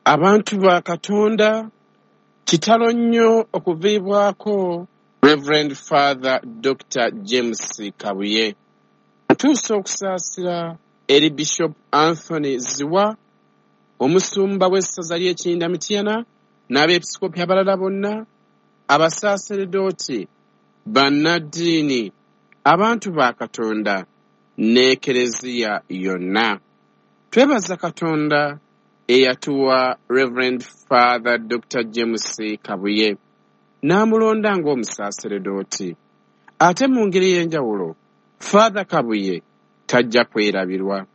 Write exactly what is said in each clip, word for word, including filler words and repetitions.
Abantu ba Katonda, kitalo nnyo okuviibwako Reverend Father Doctor James Kabuye. Ntuusa okusaasira eri Bishop Anthony Zziwa, omusumba w'essaza ly'e Kiyinda Mityana, n'abeepisikoopi abalala bonna, abasaaseredooti, bannaddiini, abantu ba Katonda n'Ekereziya yonna. Twebaza Katonda eyatuwa Reverend Father Doctor James Kabuye n'amulonda ng'omusaaseredooti. Ate mu ngeri ey'enjawulo, Father Kabuye tajja kwerabirwa.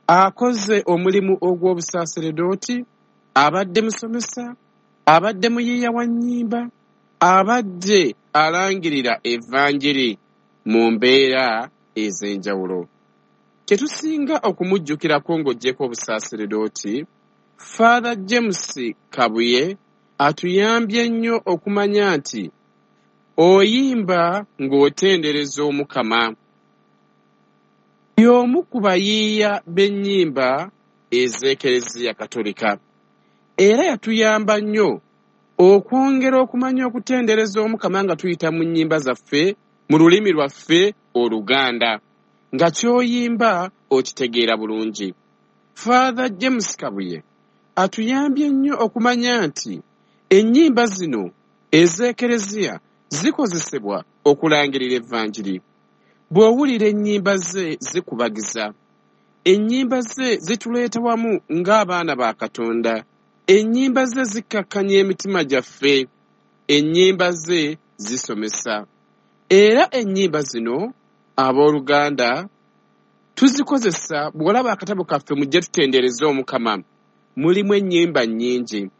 Akoze omulimu ogw'obusaaseredooti, abadde musomesa, abadde muyiiya wa nnyimba, abadde alangirira evanjiri mu mbeera ez'enjawulo. Kye tusinga okumujjukirako ng'oggyeko obusaaseredooti, Father James Kabuye atuyambye nnyo okumanya nti oyimba ng'otendereza Omukama. Y'omu ku bayiiya b'ennyimba ez'Ekereziya Katolika. Era yatuyamba nnyo okwongera okumanya okutendereza Omukama nga tuyita mu nnyimba zaffe mu lulimi lwaffe Oluganda, nga ky'oyimba okitegeera bulungi. Father James Kabuye atuyambye nnyo okumanya nti ennyimba zino ez'Ekereziya zikozesebwa okulangirira evanjiri. Bw'owulira ennyimba ze zikubagiza, ennyimba ze zituleeta wamu ng'abaana ba Katonda, ennyimba ze zikkakkanya emitima gyaffe, ennyimba ze zisomesa. Era ennyimba zino abooluganda tuzikozesa. Bw'olaba akatabo kaffe mujje tutendereze Omukama, mulimu ennyimba nnyingi.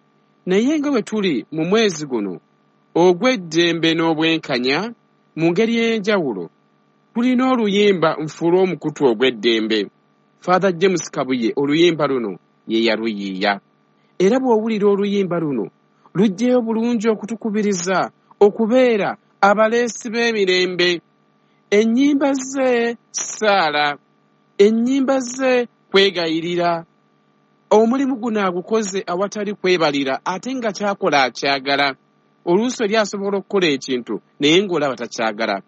Naye nga bwe tuli mu mwezi guno ogw'eddembe n'obwenkanya, mu ngeri ey'enjawulo tulina oluyimba nfuule omukutu ogw'eddembe. Father James Kabuye oluyimba luno ye yaluyiiya. Era bw'owulira oluyimba luno luggyeyo bulungi okutukubiriza okubeera abaleesi b'emirembe. Ennyimba ze ssaala, ennyimba ze kwegayirira. Omulimu guno agukoze awatali kwebalira, ate nga ky'akola akyagala. Oluusi oli asobola okukola ekintu naye ng'olaba takyagala.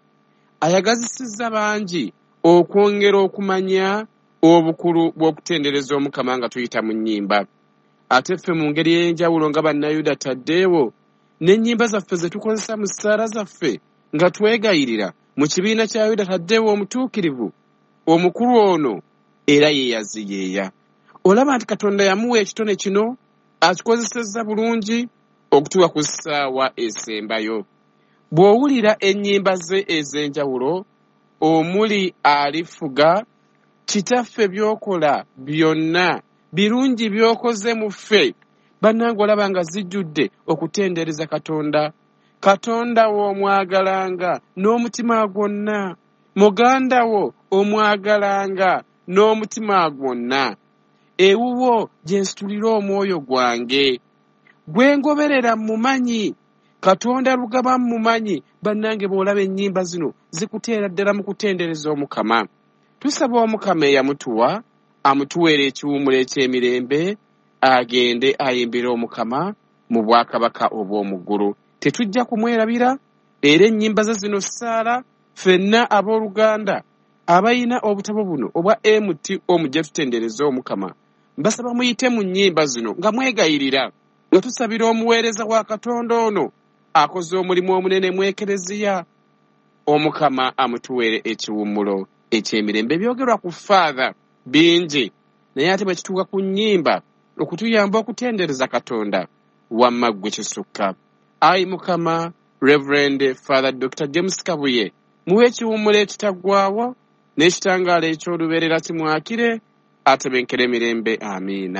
Ayagazisizza bangi okwongera okumanya obukulu bw'okutendereza Omukama nga tuyita mu nnyimba. Ate ffe mu ngeri ey'enjawulo nga Bannayuda Taddeewo, n'ennyimba zaffe ze tukozesa mu ssaala zaffe nga twegayirira mu kibiina kya Yuda Taddeewo omutuukirivu, omukulu ono era ye yaziyeeya. Olaba nti Katonda yamuwa ekitone kino, akikozesezza bulungi okutuuka ku ssaawa esembayo. Bw'owulira ennyimba ze ez'enjawulo omuli alifuga, Kitaffe by'okola byonna birungi by'okoze mu ffe, bannange olaba nga zijjudde okutendereza Katonda. Katonda wo omwagalanga n'omutima gwonna, muganda wo omwagalanga n'omutima gwonna. Ewuwo gye nsitulira omwoyo gwange, gwe ngoberera mmumanyi, Katonda lugaba mmumanyi. Bannange bw'olaba ennyimba zino zikuteera ddala mu kutendereza Omukama. Tusaba Omukama eyamutuwa amutuweera ekiwummulo eky'emirembe, agende ayimbire Omukama mu bwakabaka obw'omu ggulu. Tetujja kumwerabira, era ennyimba ze zino ssaala ffenna abooluganda abalina obutabo buno obwa M T O mujje tutendereze Omukama. Mbasaba muyite mu nnyimba zino nga mwegayirira, nga tusabira omuweereza wa Katonda ono akoze omulimu omunene mu Ekereziya. Omukama amutuweere ekiwummulo eky'emirembe. Ebyogerwa ku Father bingi, naye ate bwe kituuka ku nnyimba okutuyamba okutendereza Katonda, wamma ggwe kisukka. Ayi Mukama, Reverend Father Doctor James Kabuye, muwe ekiwummulo ekitaggwaawo n'ekitangaala eky'olubeerera kimwakire, atebenkere emirembe. Amiina.